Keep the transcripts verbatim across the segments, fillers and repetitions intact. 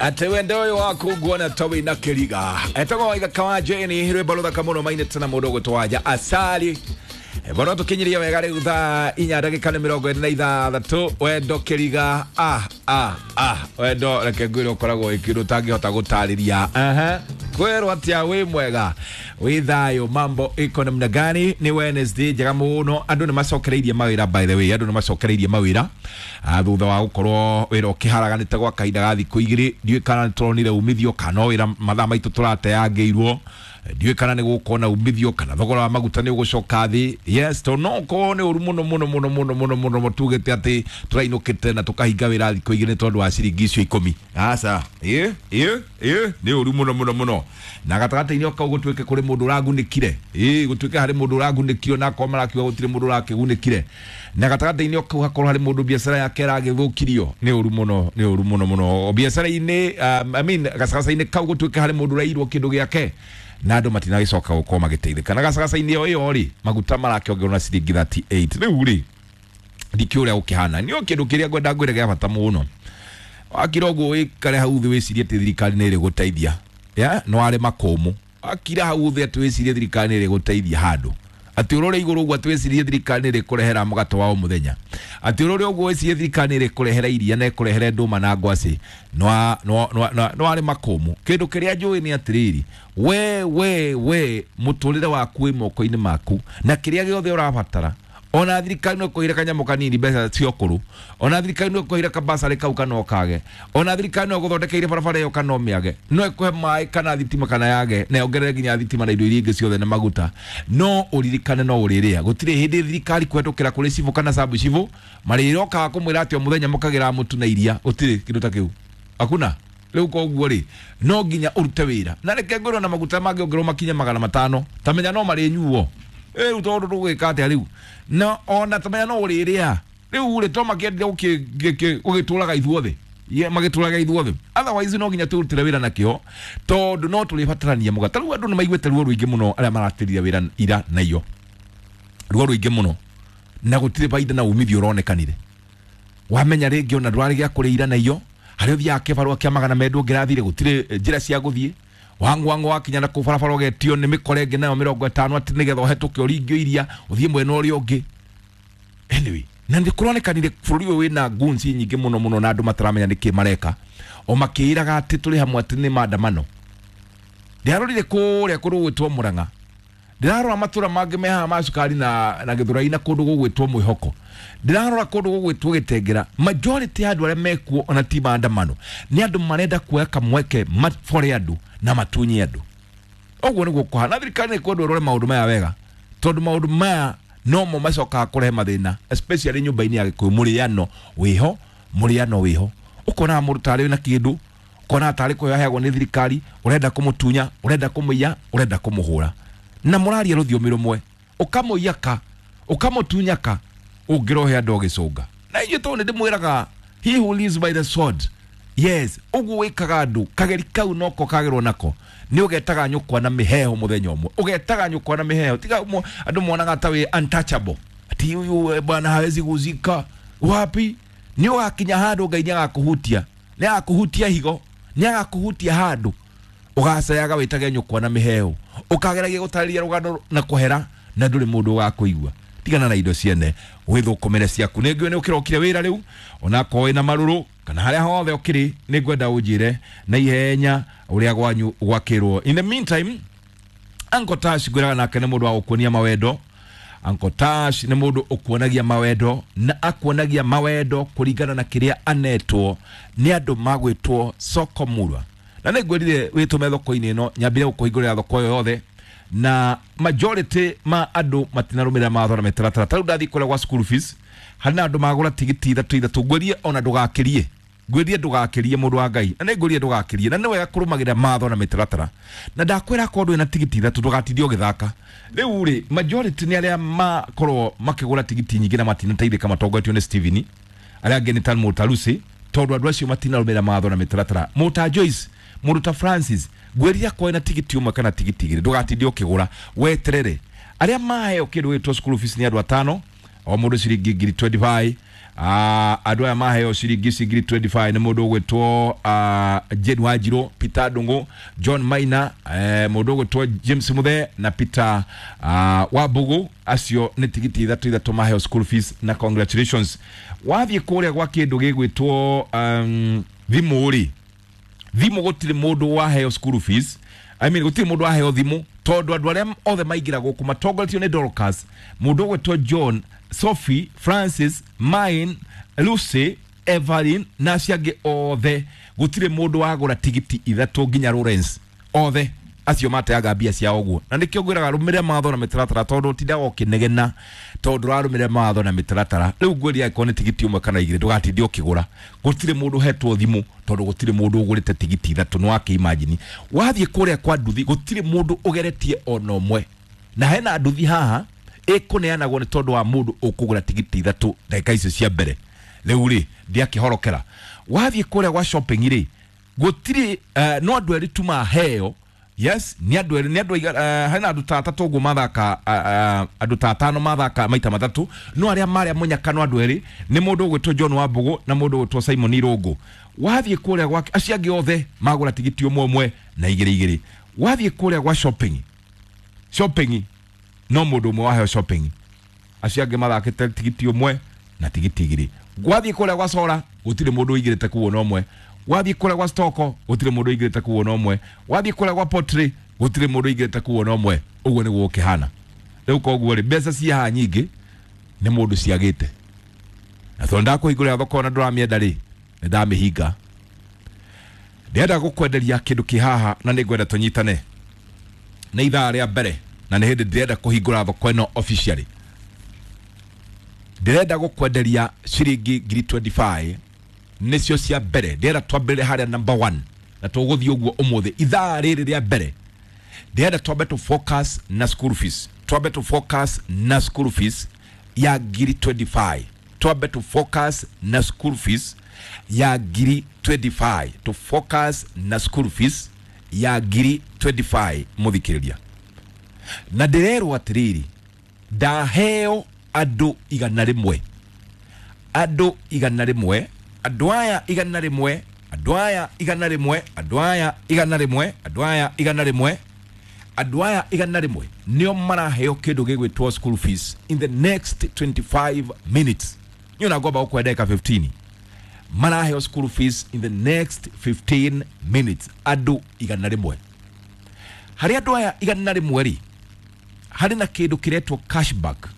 Ate wendo ũyũ waku nguona ta wĩna kĩriga. Etagwo Waithaka wa Jane, rwĩmbo rũthaka mũno mainĩte na mũndũ ũgwĩtwo Wanja Asali. Bono tũkinyirie wega rĩu thaa inya ndagĩka nĩ mĩrongo ĩrĩ na ithathatũ. Wendo kĩriga, ah ah ah, wendo reke ngwĩre ũkoragwo wĩ kĩndũ ũtangĩhota gũtarĩria. Aha, kwĩrwo atĩa, wĩ mwega, wĩ thayũ, mambo iko namna gani? Nĩ Wednesday njega mũno, andũ nĩ macokereirie mawĩra. By the way, andũ nĩ macokereirie mawĩra Ah, thutha wa gũkorwo wĩra ũkĩharaganĩte gwa kahinda ga thikũ igĩrĩ. Ndiũĩ kana nĩ tũronire umithio kana no wĩra mathaa maitũ tũrateangĩirwo. Ndiũĩ kana nĩ gũkorwo na umithio kana thogora wa maguta nĩ ũgũcoka thĩ. Yes, tondũ no ũkorwo nĩ ũru mũno mũno mũno mũno mũno mũno tugĩte atĩ tũrainũkĩte na tũkahinga wĩra thikũ igĩrĩ nĩ tondũ wa ciringi icio ikũmi. Aca, ĩ ĩ ĩ, nĩ ũru mũno mũno mũno. Na gatagatĩ-inĩ kau gũtuĩke kũrĩ mũndũ ũragunĩkire, ĩ gũtuĩke harĩ mũndũ ũragunĩkire, na akorwo marakiuga gũtirĩ mũndũ ũrakĩgunĩkire, na gatagatĩ-inĩ kau hakorwo harĩ mũndũ biacara yake ĩragĩthũkirio. Nĩ ũru mũno, nĩ ũru mũno mũno biacara-inĩ, um, I mean, gacagaca-inĩ kau gũtuĩke harĩ mũndũ ũrairwo kĩndũ gĩake na andũ matinagĩcoka gũkorwo magĩteithĩka. Na gacagaca-inĩ ĩyo ĩyo rĩ, maguta marakĩongererwo na ciringi mĩrongo ĩtatũ na nyanya. Rĩu rĩ, ndikĩũĩ ũrĩa gũkĩhana. Nĩ kĩndũ kĩrĩa ngwenda ngwĩre gĩa bata mũno, wakira ũguo wĩkare hau thĩ wĩcirie atĩ thirikari nĩ ĩrĩgũteithia, ya no arĩ makũmũ. Wakira hau thĩ atĩ wĩcirie thirikari nĩ ĩrĩgũteithia handũ, atĩ ũrore igũrũ ũguo atĩ wĩcirie thirikari nĩ ĩrĩkũrehera mũgate wa o mũthenya, atĩ ũrore ũguo wĩcirie thirikari nĩ ĩrĩkũrehera iria na ĩkũrehere ndũma na ngwacĩ, no no no arĩ makũmũ. Kĩndũ kĩrĩa njũĩ nĩ atĩrĩrĩ, we we we mũtũrĩre waku wĩ moko-inĩ maku, na kĩrĩa gĩothe ũrabatara, ona thirikari no ĩkũheire kanyamũ kanini mbeca cia ũkũrũ, ona thirikari no ĩkũheire kabasarĩ kau kana ũkage, ona thirikari no ĩgũthondekeire barabara ĩyo kana ũmĩage, no ĩkũhe maĩ kana thitima kana yage, na yongerere nginya thitima na indo iria ingĩ ciothe na maguta, no ũririkane no ũrĩrĩa. Gũtirĩ hĩndĩ thirikari kũhetũkĩra kũrĩ cibũ kana sabu cibũ marĩrokaga kũmwĩra atĩ o mũthenya mũkagĩra mũtu na iria. Gũtirĩ kĩndũ ta kĩu, hakuna. Rĩu koguo rĩ, no nginya ũrute wĩra. Na reke ngwĩrwo, na maguta mangĩongererwo makinye magana matano, tamenya no marĩnyuo rĩu, tondũ tũgwĩka atĩa rĩu? Na ona tamenya no ũrĩrĩa rĩu rĩ, to makĩendire gũgĩtũraga ithuothe, Ye, magĩtũraga ithuothe. Otherwise no nginya tũrutĩre wĩra na kĩo, tondũ no tũrĩbatarania mũgate. Rĩu andũ nĩ maiguĩte ruo rũingĩ mũno, arĩa maratĩrire wĩra ira na iyo ruo rũingĩ mũno, na gũtirĩ baida na umithio ũronekanire. Wamenya rĩngĩ ona ndwarĩ gĩa kũrĩa ira na iyo, harĩa ũthiaga kĩbarũa kĩa magana merĩ ndũngĩrathire, gũtirĩ eh, njĩra cia gũthiĩ. Wangwangwa wakinya na kũu barabara ũgetio nĩ mĩkora ĩngĩ nayo mĩrongo ĩtano, atĩ nĩgetha ũhetũke ũringio iria ũthiĩ mwena ũrĩa ũngĩ. Anyway, na nĩ kũronekanire bũrũri ũyũ wĩna goons nyingĩ mũno mũno, na andũ mataramenya nĩkĩ mareka, o makĩĩraga atĩ tũrĩ hamwe, atĩ nĩ maandamano. Ndĩrarorire kũrĩa kũndũ gũgwĩtwo Mũrang'a, ndĩrarora matũra mangĩ me haha ma cukari na, na Gĩthũrai, na kũndũ gũgwĩtwo Mwĩhoko, ndĩrarora kũndũ gũgwĩtwo Gĩtengera. Majority ya andũ arĩa mekuo ona ti maandamano, nĩ andũ marenda kuoya kamweke mabore andũ na matunye andũ. Ũguo nĩguo kũhana. Thirikari nĩ kwendwo ĩrore maũndũ maya wega, tondũ maũndũ maya nomo macokaga kũrehe mathĩna, especially nyũmba-inĩ ya Gĩkũyũ. Mũrĩano wĩho, mũrĩano wĩho. Ũkonaga mũndũ tarĩ na kĩndũ, ũkonaga tarĩ kũheo aheagwo nĩ thirikari, ũrenda kũmũtunya, ũrenda kũmũiya, ũrenda kũmũhũra, na mũraria rũthiomi rũmwe, ũkamũiya ka, ũkamũtunya ka, ũngĩrohe andũ ũgĩcũnga. Na inyuĩ tondũ nĩ ndĩmwĩraga, he who lives by the sword, yes, ũguo wĩkaga andũ kageri kau noko kagĩrwo nako nĩ ũgetaga nyũkwa na mĩheho mũthenya ũmwe, ũgetaga nyũkwa na mĩheho. Tiga mo- andũ monaga ta wĩ untouchable, ati huyu eh, bwana hawezi guzika wapi. Nĩ ũgakinya handũ Ngai nĩ agakũhutia, nĩ agakũhutia higo, nĩ agakũhutia handũ ũgacayaga wĩtage nyũkwa na mĩheho, ũkageragia gũtarĩria rũgano na kũhera, na ndũrĩ mũndũ ũgakũigua. Tigana na indo ciene, wĩthũkũmĩre ciaku. Nĩ ngũĩ nĩ ũkĩrokire wĩra rĩu, onakorwo wĩna marũrũ kana harĩa hothe ũkĩrĩ, nĩ ngwenda ũnjĩre na ihenya ũrĩa gwanyu gwakĩrwo. In the meantime, Uncle Tash ngwĩraga nake nĩ mũndũ wa gũkuonia mawendo. Uncle Tash nĩ mũndũ ũkuonagia mawendo, na akuonagia mawendo kũringana na kĩrĩa anetwo nĩ andũ magwĩtwo Soko Murwa. Na nĩ ngwĩrire wĩtũme thoko-inĩ ĩno, nyambire gũkũhingũrĩra thoko ĩyo yothe, na majority ma andũ matinarũmĩrĩra mawatho na mĩtaratara. Ta rĩu ndathiĩ kũrĩa gwa school fees, harĩ na andũ magũra tigiti ithatũ ithatũ. Ngwĩrie ona ndũgakĩrie, ngwĩrie ndũgakĩrie, mũndũ wa Ngai, na nĩ ngwĩrie ndũgakĩrie. Na nĩ wega kũrũmagĩrĩra mawatho na mĩtaratara, na ndakwĩra akorwo ndũrĩ na tigiti ithatũ, ndũgatinde ũgĩthaka. Rĩu rĩ, majority nĩ arĩa makorwo makĩgũra tigiti nyingĩ na matinateithĩka, matongoretio nĩ Steven, arĩa angĩ nĩ ta Mũtarusi, tondũ andũ acio matinarũmĩrĩra mawatho na mĩtaratara. Mũta Joyce, mũndũ ta Francis, ngwĩrire akorwo na tigiti ũmwe kana tigiti igĩrĩ, ndũgatinde ũkĩgũra, weterere. Arĩa maheo kĩndũ gĩtwo school fees nĩ andũ atano, o mũndũ ciringi ngiri mĩrongo ĩrĩ na ithano. Andũ aya maheo ciringi ici ngiri mĩrongo ĩrĩ na ithano nĩ mũndũ ũgwĩtwo uh, Jane Wanjiru, Peter Ndung'u, John Maina, eh, mũndũ ũgwĩtwo James Muthe na Peter uh, Wambugu. Acio nĩ tigiti ithatũ ithatũ maheo school fees, na congratulations. Wathiĩ kũrĩa gwa kĩndũ gĩgwĩtwo um, thimũ rĩ, thimũ gũtirĩ mũndũ waheo school fees, I mean, gũtirĩ mũndũ waheo thimũ, tondũ andũ arĩa othe maingĩra gũkũ matongoretio nĩ Dorcas, mũndũ ũgwĩtwo John, Sophie, Francis, Mine, Lucy, Evelyn na acio angĩ othe, gũtirĩ mũndũ wagũra tigiti ithatũ nginya Lawrence, othe acio mateaga mbia ciao ũguo. Na nĩkĩo ngwĩraga rũmĩrĩra mawatho na mĩtaratara, tondũ ũtindaga ũkĩnegena tondũ ũrarũmĩrĩra mawatho na mĩtaratara. Rĩu ngwĩria, angĩkorwo nĩ tigiti ũmwe kana igĩrĩ, ndũgatinde ũkĩgũra. Gũtirĩ mũndũ ũhetwo thimũ tondũ gũtirĩ mũndũ ũgũrĩte tigiti ithatũ. Nĩ wakĩ-imagine, wathiĩ kũrĩa kwa nduthi gũtirĩ mũndũ ũgeretie ona ũmwe, na hena nduthi haha ĩkũneanagwo nĩ tondũ wa mũndũ ũkũgũra tigiti ithatũ ndagĩka icio cia mbere. Rĩu rĩ, ndiakĩhorokera. Wathiĩ kũrĩa gwa shopping rĩ, gũtirĩ, uh, no andũ erĩ tu maheo. Yes, nĩ andũ erĩ, nĩ andũ uh, hena andũ ta atatũ ũguo mathaka, uh, uh, andũ ta atano mathaka maita matatũ, no arĩa marĩa mũnyaka no andũ erĩ, nĩ mũndũ ũgwĩtwo John Wambũgũ na mũndũ ũgwĩtwo Simon Irũngũ. Wathiĩ kũrĩa gwa acio angĩ othe magũra tigiti ũmwe ũmwe na igĩrĩ igĩrĩ. Wathiĩ kũrĩa gwa shopping, shopping no mũndũ ũmwe waheo shopping, acio angĩ mathakĩte tigiti ũmwe na tigiti igĩrĩ. Gwathiĩ kũrĩa gwa sora gũtirĩ mũndũ ũingĩrĩte kuo na ũmwe. Wathiĩ kũrĩa gwa stoko gũtirĩ mũndũ ũingĩrĩte kuo na ũmwe. Wathiĩ kũrĩa gwa pottery gũtirĩ mũndũ ũingĩrĩte kuo na ũmwe. Ũguo nĩguo gũkĩhana rĩu. Koguo rĩ, mbeca ci haha nyingĩ nĩ mũndũ ciagĩte, na tondũ ndakũhingũrĩra thoko na ndũramĩenda rĩ, nĩ ndamĩhinga. Ndĩrenda gũkwenderia kĩndũ kĩ haha na nĩ ngwenda tũnyitane. Nĩ ithaa rĩa mbere na nĩ hĩndĩ ndĩrenda kũhingũra thoko ĩno officially. Ndĩrenda gũkwenderia ciringi ngiri mĩrongo ĩrĩ na ithano nĩcio cia mbere. Ndĩrenda twambĩrĩre harĩa number one na tũgũthiĩ ũguo ũmũthĩ. Ithaa rĩrĩ rĩa mbere ndĩrenda twambe tũ focus na school fees, twambe tũ focus na school fees ya ngiri mĩrongo ĩrĩ na ithano, twambe tũ focus na school fees ya ngiri mĩrongo ĩrĩ na ithano, tũ focus na school fees ya ngiri mĩrongo ĩrĩ na ithano. Mũthikĩrĩria, na ndĩrerwo atĩrĩrĩ, ndaheo andũ igana rĩmwe, andũ igana rĩmwe, andũ aya igana rĩmwe, andũ aya igana rĩmwe, andũ aya igana rĩmwe, andũ aya igana rĩmwe, andũ aya igana rĩmwe nĩo maraheo kĩndũ gĩgwĩtwo school fees in the next twenty-five minutes. Niĩ ona ngomba gũkũhe ndagĩka ikũmi. Maraheo school fees in the next fifteen minutes, andũ igana rĩmwe. Harĩ andũ aya igana rĩmwe rĩ, harĩ na kĩndũ kĩretwo cashback,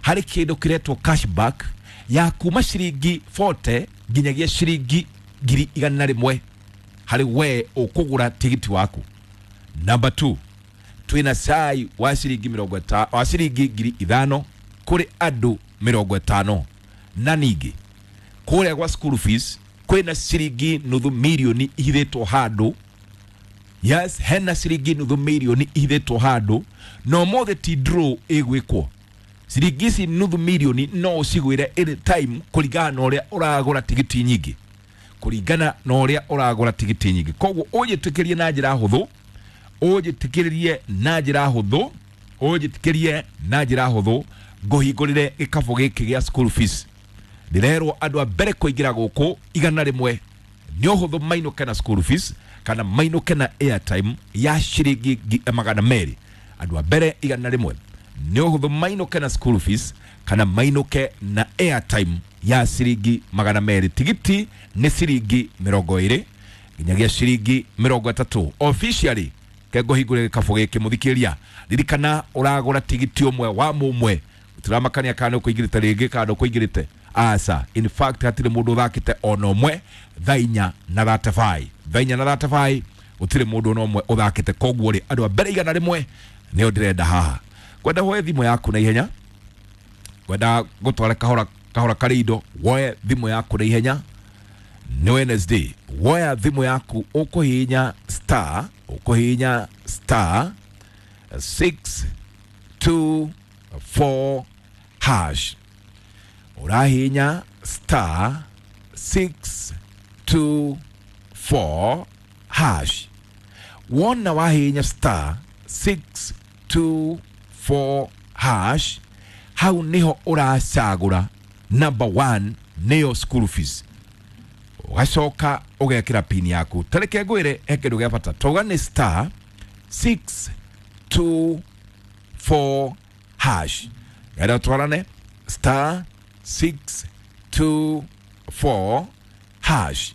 harĩ kĩndũ kĩretwo cashback ya kuma ciringi mĩrongo ĩna nginyagia ciringi ngiri igana rĩmwe harĩ we ũkũgũra tigiti waku. Number two, twĩna cai wa ciringi mĩrongo ĩta wa ciringi ngiri ithano kũrĩ andũ mĩrongo ĩtano. Na ningĩ kũrĩa gwa school fees kwĩna ciringi nuthu mirioni ihithĩtwo handũ. Yes, hena ciringi nuthu mirioni ihithĩtwo handũ, na ũmũthĩ ti draw ĩgwĩkwo. Ciringi ici nuthu mirioni no ũcigwĩre anytime kũringana na ũrĩa ũragũra tigiti nyingĩ, kũringana na ũrĩa ũragũra tigiti nyingĩ. Koguo ũnjĩtĩkĩrie na njĩra hũthũ, ũnjĩtĩkĩrie na njĩra hũthũ, ũnjĩtĩkĩrie na njĩra hũthũ ngũhingũrĩre gĩkabũ gĩkĩ gĩa school fees. Ndĩrerwo andũ a mbere kũingĩra gũkũ igana rĩmwe nĩ ũhũthũ mainũke na school fees kana mainũke na airtime ya ciringi ngi- magana merĩ. Andũ a mbere igana rĩmwe nĩ ũhũthũ mainũke na school fees kana mainũke na airtime ya ciringi magana merĩ. Tigiti nĩ ciringi mĩrongo ĩrĩ nginyagia ciringi mĩrongo ĩtatũ. Officially ke ngũhingũre gĩkabũ gĩkĩ. Mũthikĩria, ririkana ũragũra tigiti ũmwe wa mũmwe, tũramakania kana nĩ ũkũingĩrĩte rĩngĩ kana ndũkũingĩrĩte. Aca, in fact hatirĩ mũndũ ũthakĩte ona ũmwe thaa inya na thirty-five, thaa inya na thirty-five gũtirĩ mũndũ ona ũmwe ũthakĩte. Koguo rĩ, andũ a mbere igana rĩmwe nĩo ndĩrenda haha. Kwenda woe thimũ yaku na ihenya, kwenda gũtwara kahora kahora karĩ indo, woe thimũ yaku na ihenya. Nĩ Wednesday, woya thimũ yaku, ũkũhihinya star, ũkũhihinya star six two four hash, ũrahihinya star six two four hash. Wona wahihinya star six two four hash, hau niho ũracagũra. Number one nĩyo school fees. Ũgacoka ũgekĩra pin yaku. Tareke ngwĩre he kĩndũ gĩa bata. Tauga nĩ star six two four hash. Ngenda twarane star six two four hash.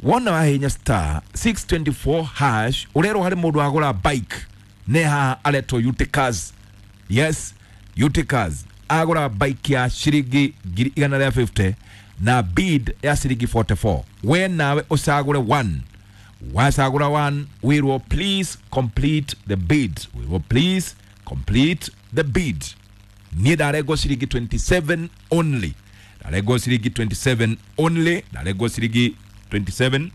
Wona wahinya star six twenty-four hash urerwo hari mundu agura bike ne haha aretwo Uticas. Yes, Uticas agura bike ya ciringi ngiri igana rĩa fifty na bid ya ciringi forty-four. We nawe ucagure one. Wacagura one, wirwo please complete the bid. Wirwo please complete the bid. Niĩ ndarengwo ciringi twenty-seven only. Ndarengwo ciringi twenty-seven only. Ndarengwo ciringi twenty-seven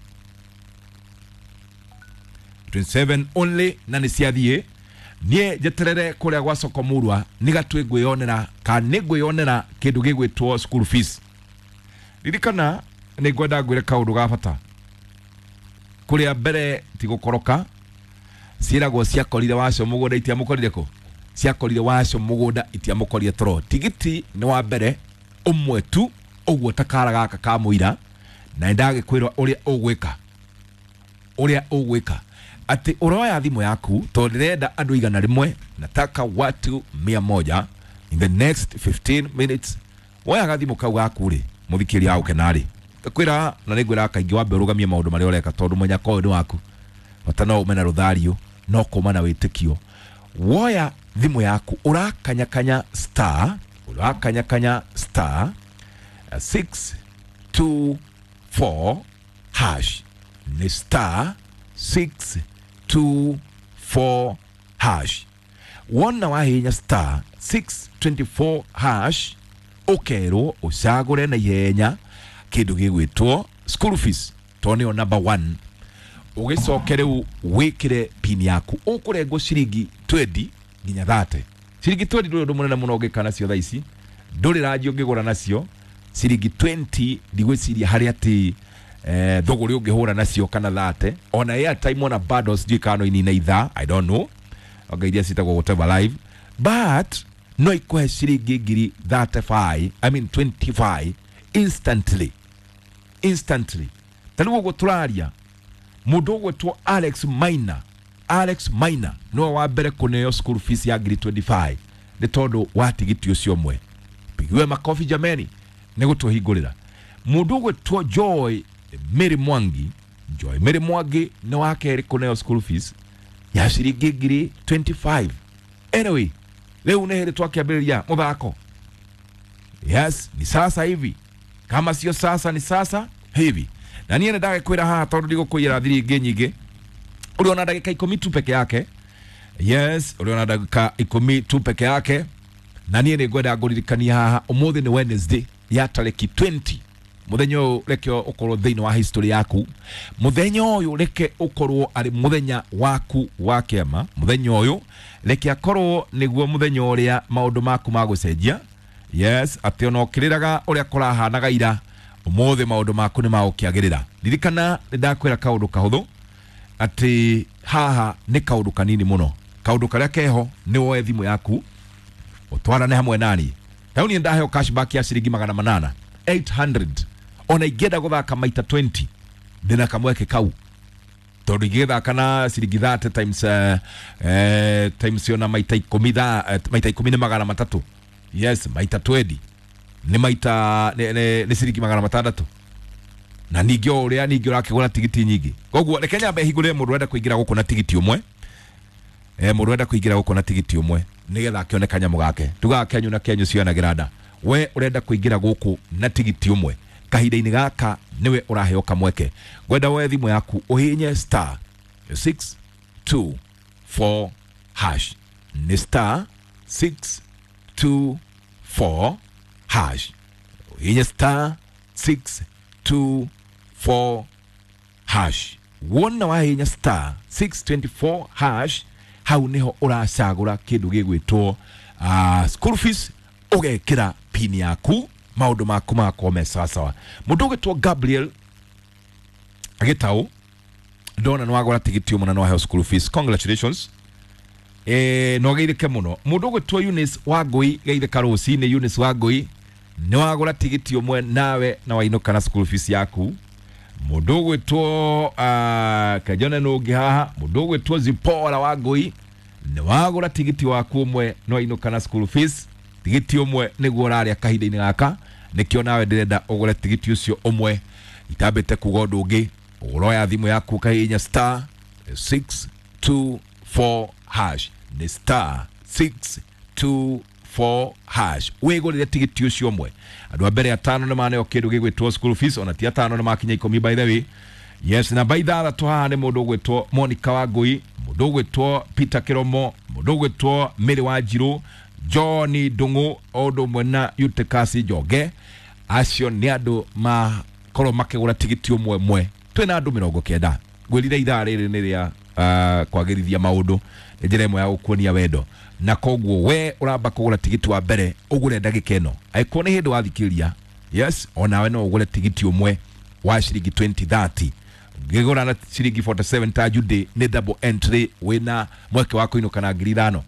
twenty-seven only na nĩ ciathiĩ. Niĩ njeterere kũrĩa gwa soko murwa nĩgatue ngwĩyonera kana nĩ ngwĩyonera kĩndũ gĩgwĩtwo school fees. Ririkana nĩ ngwenda ngwĩre kaũndũ ga bata. Kũrĩa mbere ti gũkoroka ciĩragwo ciakorire wacio mũgũnda itiamũkorire kũ? Ciakorire wacio mũgũnda itiamũkorire toro. Tigiti nĩ wa mbere ũmwe tu ũguo ta kara gaka ka mũira, na nĩndagĩkwĩrwo ũrĩa ũgwĩka. Ũrĩa ũgwĩka atĩ ũroya thimũ yaku tondũ ndĩrenda andũ igana rĩmwe, nataka watu mia moja in the next fifteen minutes. Woyaga thimũ kau gaku rĩ, mũthikĩria gũkena rĩ, kwĩra na nĩngwĩra kaingĩ wambe ũrũgamie maũndũ marĩa ũreka tondũ mũnyaka ũyũ nĩ waku. Bata no ume na rũthario no kũma na wĩtĩkio. Woya thimũ yaku ũrakanyakanya star ũrakanyakanya star six two four hash. Nĩ star six two four hash. Wona wahinya star six twenty-four hash ũkerwo ũcagũre na ihenya kĩndũ gĩgwĩtwo school fees tondũ nĩyo number one. Ũgĩcoke rĩu wĩkĩre pin yaku ũkũrengwo ciringi twenty nginya thirty. Ciringi twenty ndũrĩ ũndũ mũnene mũno ũngĩka nacio thaa ici, ndũrĩ ranji ũngĩgũra nacio ciringi twenty. Ndigwĩciria harĩ atĩ eh, thũgũrĩ ũngĩhũra nacio kana thirty. Ona airtime ona bundles ndiũĩ kana no inine ithaa, I don't know, anga iria ciĩtagwo whatever live, but no ikũhe ciringi ngiri thirty-five, I mean twenty-five instantly. Instantly. Ta rĩu ũguo tũraria mũndũ ũgwĩtwo Alex Maina, Alex Maina nĩwe wa mbere kũneo school fees ya ngiri twenty-five nĩ tondũ wa tigiti ũcio ũmwe. Pigiwe makofi jameni nĩ gũtũhingũrĩra. Mũndũ ũgwĩtwo Joy Mary Mwangi, Joy Mary Mwangi nĩ wa kerĩ kũneo school fees ya ciringi ngiri twenty-five. Anyway, rĩu nĩ hĩndĩ twakĩambĩrĩria mũthako. Yes, ni sasa hivi. Kama sio sasa ni sasa hivi. Na niĩ nĩndagĩkwĩra haha tondũ ndigũkũiyĩra thiri ingĩ nyingĩ. Ũrĩ ona ndagĩka ikũmi tu peke yake. Yes, ũrĩ ona ndagĩka ikũmi tu peke yake. Na niĩ nĩngwenda ngũririkanie haha ũmũthĩ nĩ Wednesday ya tarĩki twenty. Mũthenya ũyũ reke ũkorwo thĩinĩ wa history yaku. Mũthenya ũyũ reke ũkorwo arĩ mũthenya waku wa kĩama. Mũthenya ũyũ reke akorwo nĩguo mũthenya ũrĩa maũndũ maku magũcenjia. Yes, atĩ ona ũkĩrĩraga ũrĩa kũrahanaga ira, ũmũthĩ maũndũ maku nĩ magũkĩagĩrĩra. Ririkana nĩndakwĩra kaũndũ kahũthũ atĩ haha nĩ kaũndũ kanini mũno. Kaũndũ karĩa keho nĩ woe thimũ yaku ũtwarane hamwe nani. Rĩu niĩ ndaheo cashback ya ciringi magana manana eight hundred. Ona ingĩenda gũthaka maita twenty ndĩna kamweke kau tondũ ingĩgĩthaka na ciringi thirty times, uh, eh, times ona maita ikũmi tha, eh, maita ikũmi nĩ magana matatũ. Yes, maita twenty nĩ maita nĩ, nĩ, nĩ ciringi magana matandatũ. Na ningĩ o ũrĩa ningĩ ũrakĩgũra tigiti nyingĩ. Koguo reke nyambe hingũrĩre mũndũ ũrenda kũingĩra gũkũ na tigiti ũmwe. Eh, mũndũ ũrenda kũingĩra gũkũ na tigiti ũmwe nĩgetha akĩone kanyamũ gake. Tugaga kenyu na kenyu cionagĩra nda. We ũrenda kũingĩra gũkũ na tigiti ũmwe kahinda-inĩ gaka nĩwe ũraheo kamweke. Ngwenda woe thimũ yaku ũhihinye star six two four hash. Nĩ star six two four hash. Ũhihinye star six two four hash. Wona wahihinya star six twenty-four hash hau niho ũracagũra kĩndũ gĩgwĩtwo uh, school fees, ũgekĩra pin yaku maũndũ maku magakorwo me sawasawa. Mũndũ ũgwĩtwo Gabriel Gĩtaũ ndona nĩwagũra tigiti ũmwe na nĩwaheo school fees, congratulations. Eh, no geithĩke mũno. Mũndũ ũgwĩtwo Eunice Wangũi, geithĩka rũcinĩ Eunice Wangũi. Nĩ wagũra tigiti ũmwe nawe na wainũka na school fees yaku. Mũndũ ũgwĩtwo uh, kajone nũngĩ haha, mũndũ ũgwĩtwo Zipora wa Ngũi, nĩ wagũra tigiti waku ũmwe na wainũka na school fees. Tigiti ũmwe nĩguo ũrarĩa kahinda-inĩ gaka, nĩkĩo nawe ndĩrenda ũgũre tigiti ũcio ũmwe. Itambĩte kuga ũndũ ũngĩ, ũroya thimũ yaku ũkahihinya star six two four hash, nĩ star six two four hash, wĩgũrĩre tigiti ũcio ũmwe. Andũ a mbere atano nĩ maneo kĩndũ gĩgwĩtwo school fees, ona ti atano nĩ makinya ikũmi by the way. Yes, namba ithathatũ haha nĩ mũndũ ũgwĩtwo Monica Wangũi, mũndũ ũgwĩtwo Peter Kĩromo, mũndũ ũgwĩtwo Mary Wanjirũ, John Ndung'u, o ũndũ ũmwe na Eutychus Njonge. Acio nĩ andũ makorwo makĩgũra tigiti ũmwe ũmwe. Twĩna andũ mĩrongo kenda. Ngwĩrire ithaa rĩrĩ nĩ rĩa uh, kwagĩrithia maũndũ, nĩ njĩra ĩmwe ya gũkuonia wendo, na koguo we ũramba kũgũra tigiti wa mbere ũgũre ndagĩka ĩno. Angĩkorwo nĩ hĩndĩ wathikĩrĩria, yes, onawe no ũgũre tigiti ũmwe wa ciringi twenty thirty. Ũngĩgũra na ciringi forty seven ta Judy nĩ double entry, wĩna mweke wa kũinũka na ngiri ithano.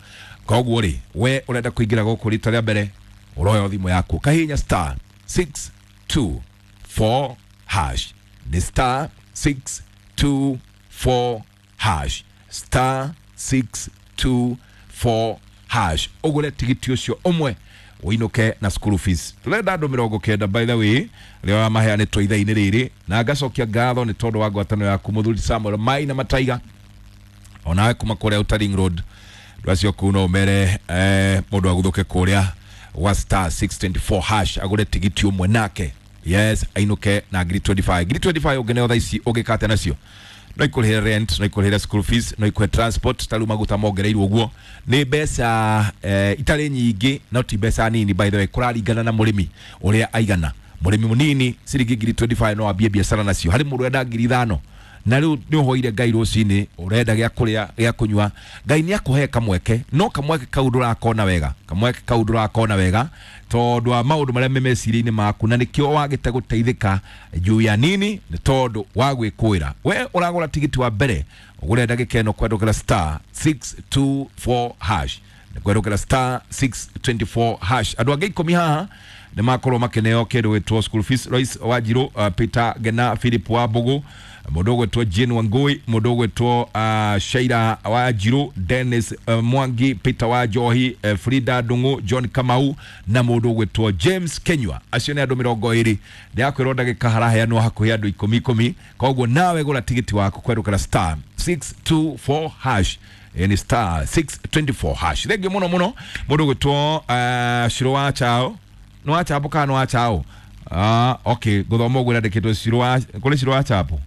Koguo rĩ, we ũrenda kũingĩra gũkũ rita rĩa mbere, ũroya thimũ yaku kahihinya star six two four hash, nĩ star six two four hash, star six two four hash, ũgũre tigiti ũcio ũmwe ũinũke na school fees. Tũrenda andũ mĩrongo kenda by the way rĩo maheanĩtwo ithaa-inĩ rĩrĩ, na ngacokia ngatho nĩ tondũ wa ngwatanĩro yaku mũthuri Samuel Mai na Mataiga, onawe kuma kũrĩa Outer Ring Road. Andũ acio kũu no ũmere eh, mũndũ aguthũke kũrĩa wa star six twenty four hash agũre tigiti ũmwe nake, yes, ainũke na ngiri twenty five. Ngiri twenty five ũngĩneo thaa ici ũngĩkate nacio, no ikũrĩhĩre rent, no ikũrĩhĩre school fees, no ikũhe transport. Ta rĩu maguta mongereirwo ũguo nĩ mbeca eh, itarĩ nyingĩ, no ti mbeca nini by the way, kũraringana na mũrĩmi ũrĩa aigana. Mũrĩmi mũnini ciringi ngiri twenty five no ambie biacara nacio. Harĩ mũndũ ũrenda ngiri ithano na rĩu nĩ ũhoire Ngai rũcinĩ, ũrenda gĩa kũrĩa gĩa kũnyua, Ngai nĩ akũhe kamweke, no kamweke kau ndũrakona wega, kamweke kau ndũrakona wega tondũ wa maũndũ marĩa me meciria-inĩ maku, na nĩkĩo wagĩte gũteithĩka juu ya nini, nĩ tondũ wa gwĩkũĩra. We ũragũra tigiti wa mbere ũgũre ndagĩka ĩno kwendũkĩra star six two four hash, nĩ kwendũkĩra star six twenty four hash. Andũ angĩ ikũmi haha nĩ makorwo makĩneo kĩndũ gĩtwo school fees. Lois Wanjirũ, uh, Peter Gena, Philip Wambugu, mũndũ ũgwĩtwo Jane Wangui, mũndũ ũgwĩtwo uh, Shaira Wanjirũ, Dennis uh, Mwangi, Peter Wanjohi, uh, Frida Ndung'u, John Kamau na mũndũ ũgwĩtwo James Kenywa. Acio nĩ andũ mĩrongo ĩrĩ. Ndĩrakwĩrwo ndagĩka haraheanwo hakuhĩ andũ ikũmi ikũmi. Koguo nawe gũra tigiti waku kwerũkĩra star six two four hash, ni star six twenty four hash. Thengiũ mũno mũno mũndũ ũgwĩtwo uh, Shiro wa Chao. Nĩ wa Chapo kana nĩ wa Chao? Ah, okay, gũthoma ũguo ĩrandĩkĩtwo Shiro wa, kũrĩ Shiro wa Chapo.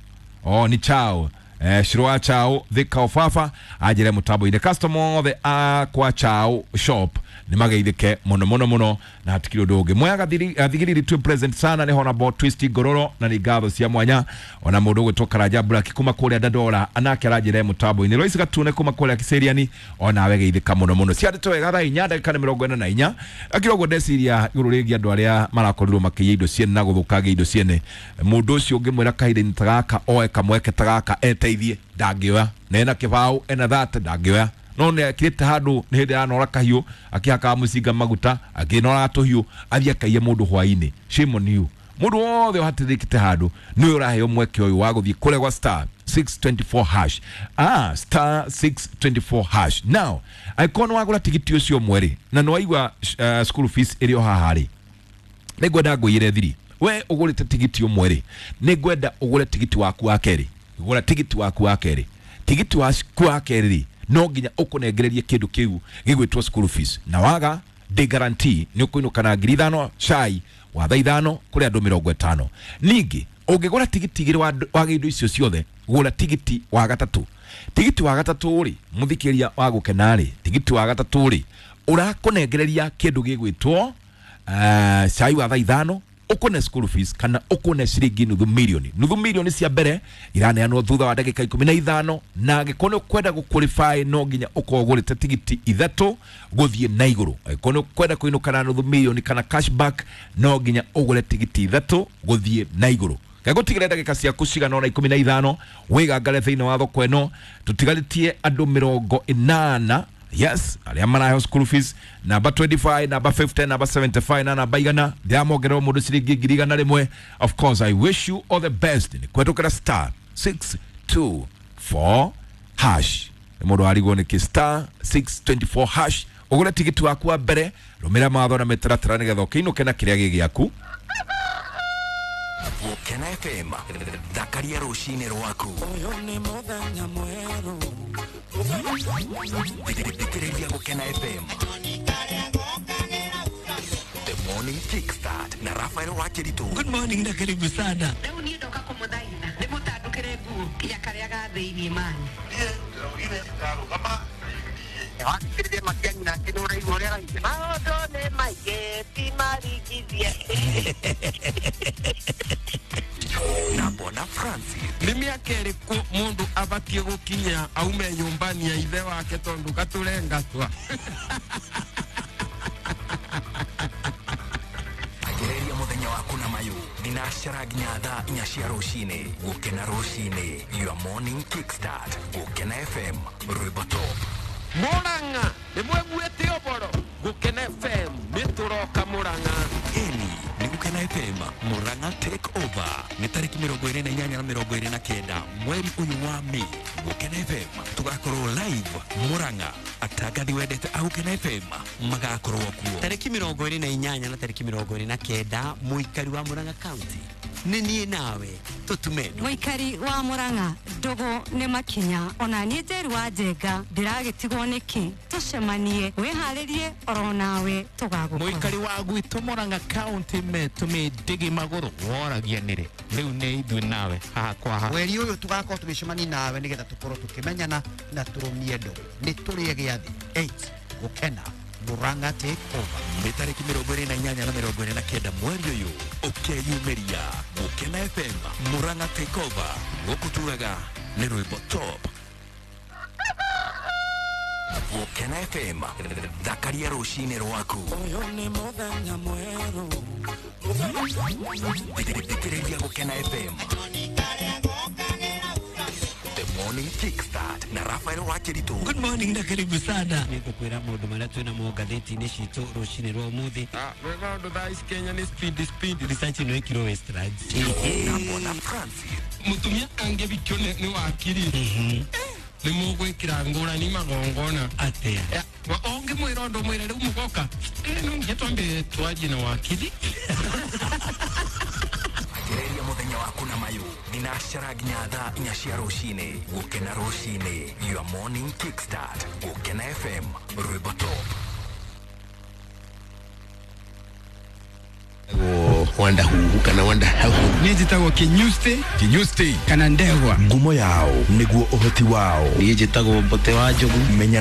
Oh, ni Chao. Eh, Shiro wa Chao Thika Ofafa anjĩre mũtambo-inĩ. Customer othe a kwa Chao shop nĩ mageithĩke mũno mũno mũno, na hatikiri ũndũ ũngĩ. Mwea gathigiriri twĩ present sana nĩ Honorable Twist Ngororo, na nĩ ngatho cia mwanya. Ona mũndũ ũgwĩtwo Karanja Black kuma kũrĩa Dandora anake aranjĩre mũtambo-inĩ. Lois Gatune kuma kũrĩa Kiseriani onawe geithĩka mũno mũno. Ciandĩtwo wega thaa inya ndagĩka nĩ mĩrongo ĩna na inya. Akĩra ũguo ndeciria igũrũ rĩgiĩ andũ arĩa marakorirwo makĩiya indo ciene na gũthũkangia indo ciene. Mũndũ ũcio ũngĩmwĩra kahinda-inĩ ta gaka oe kamweke ta gaka eteithie, ndangĩoya. Na ena kĩbaũ ena thate ndangĩoya. No nĩ akirĩte handũ nĩ hĩndĩ aranora kahiũ, akĩhakaga mũcinga maguta, akĩnoraga tũhiũ, athiĩ akaiye mũndũ hwaĩ-inĩ. Shame on you. Mũndũ wothe ũhatĩrĩkĩte handũ nĩwe ũraheo mweke ũyũ wa gũthiĩ kũrĩa gwa star six twenty four hash. Ah, star six twenty four hash. Now, angĩkorwo nĩ wagũra tigiti ũcio ũmwe rĩ, na nĩ waigua uh, school fees ĩrĩ o haha rĩ, nĩ ngwenda ngũiyĩre thiri. We ũgũrĩte tigiti ũmwe rĩ, nĩ ngwenda ũgũre tigiti waku wa kerĩ. Gũra tigiti waku wa kerĩ. Tigiti waku wa kerĩ rĩ, no nginya ũkũnengererie kĩndũ kĩu gĩgwĩtwo school fees. Na waga ndĩ guarantee nĩ ũkũinũka na ngiri ithano cai wa thaa ithano kũrĩ andũ mĩrongo ĩtano. Ningĩ ũngĩgũra tigiti igĩrĩ wa wa indo icio ciothe, gũra tigiti wa gatatũ. Tigiti wa gatatũ rĩ, mũthikĩria wa gũkena rĩ, tigiti wa gatatũ rĩ, ũrakũnengereria kĩndũ gĩgwĩtwo uh, cai wa thaa ithano, ũkũne school fees kana ũkũne ciringi nuthu milioni. Nuthu milioni cia mbere iraneanwo thutha wa ndagĩka ikũmi na ithano, na angĩkorwo nĩ ũkwenda gũqualify no nginya ũkorwo ũgũrĩte tigiti ithatũ gũthiĩ na igũrũ. Angĩkorwo nĩ ũkwenda kũinũka na nuthu milioni kana cashback no nginya ũgũre tigiti ithatũ gũthiĩ na igũrũ. Ngagũtigĩra ndagĩka ciaku cigana ũna ikũmi na ithano wĩgangare thĩinĩ wa thoko ĩno. Tũtigarĩtie andũ mĩrongo ĩnana Yes, arĩa maraheo school fees namba twenty-five, namba fifty, namba seventy-five na namba igana ndĩramongerera mũndũ ciringi ngiri igana rĩmwe. Of course, I wish you all the best. Nĩ kũhetũkĩra star six two four hash. Nĩ mũndũ warigwo nĩkĩ star six twenty-four hash. Ũgũre tigiti waku wa mbere, rũmĩrĩra mawatho na mĩtaratara nĩgetha ũkĩinũke na kĩrĩa gĩ gĩaku. Gũkena F M, thakaria rũcinĩ rwaku. Thikĩrĩria Gũkena F M. The Morning Kickstart na Rafael Wakiritu. Good morning na karibu sana. Rĩu niĩ ndoka kũmũthaitha ndĩmũtandũkĩre nguo ya karĩa ga thĩiniĩ mani. Maũndũ nĩ maingĩ ti marigithie. Na Bona Francis. Nĩ mĩaka ĩrĩkũ mũndũ abatiĩ gũkinya aume nyũmba-inĩ ya ithe wake tondũ gatũrengatwa? Anjĩrĩria mũthenya waku na mayũ thinacara nginya thaa inya cia rũcinĩ. Gũkena rũcinĩ, your morning kickstart. Gũkena F M, rwĩmbo top. Murang'a nĩ mweguĩte ũboro. Gũkena F M nĩ tũroka Murang'a. Ĩni nĩ Gũkena F M Murang'a take over nĩ tarĩki mĩrongo ĩrĩ na inyanya na mĩrongo ĩrĩ na kenda mweri ũyũ wa Mĩĩ. Gũkena F M tũgakorwo live Murang'a. Atangathi wendete a Gũkena F M magakorwo kuo tarĩki mĩrongo ĩrĩ na inyanya na tarĩki mĩrongo ĩrĩ na kenda. Mũikari wa Murang'a County nĩ niĩ nawe tũtume ndũgũ. Mũikari wa Murang'a ndũgũ nĩ makinya ona niĩ Njeru wa Njenga ndĩragĩtigwo nĩkĩ? Tũcemanie wĩharĩrie oro nawe tũgagũkora. Mũikari wa gwitũ Murang'a County metũmĩ ndĩgĩ magũrũ woragia nĩrĩ rĩu nĩ ithuĩ nawe haha kwa haha. Mweri ũyũ tũgakorwo tũgĩcemania nawe nĩgetha tũkorwo tũkĩmenyana na tũrũmie ndũgũ. Nĩ tũrĩe gĩathĩ eight Gũkena Murang'a take over. Nĩ tarĩki mĩrongo ĩrĩ na inyanya na mĩrongo ĩrĩ na kenda mweri ũyũ ũkeyumĩria Gũkena F M Murang'a take over. Gũkũ tugaga nĩ rwĩmbo top. Gũkena F M thakaria rũcinĩ rwaku. Thikĩrĩria Gũkena F M. The Morning Kickstart na Rafael Wakiritu. Good morning na karibu sana. Nĩngũkwĩra maũndũ marĩa twĩ namo ngathĩti-inĩ citũ rũcinĩ rwa ũmũthĩ. Ah, rwĩmbo rũndũ thaa ici Kenya nĩ speed speed. Research ĩno ĩkirwo Westlands. Na Bona Francis. Mũtumia angĩbikio nĩ wakiri nĩ mũgwĩkĩra ngũrani magongona. Atĩa? Ũngĩmwĩra ũndũ mwĩre rĩu mũgoka no nginya twambe twarie na wakiri. Anjĩrĩria mũthenya waku na mayũ thinacara nginya thaa inya cia rũcinĩ. Gũkena rũcinĩ, your morning kickstart. Gũkena F M rwĩmbo top. Wanda huhu kana wanda hahu. Niĩ njĩtagwo Kinyusti. Kinyusti kana Ndegwa. Ngumo yao nĩguo ũhoti wao. Niĩ njĩtagwo Mbote wa Njogu. Menya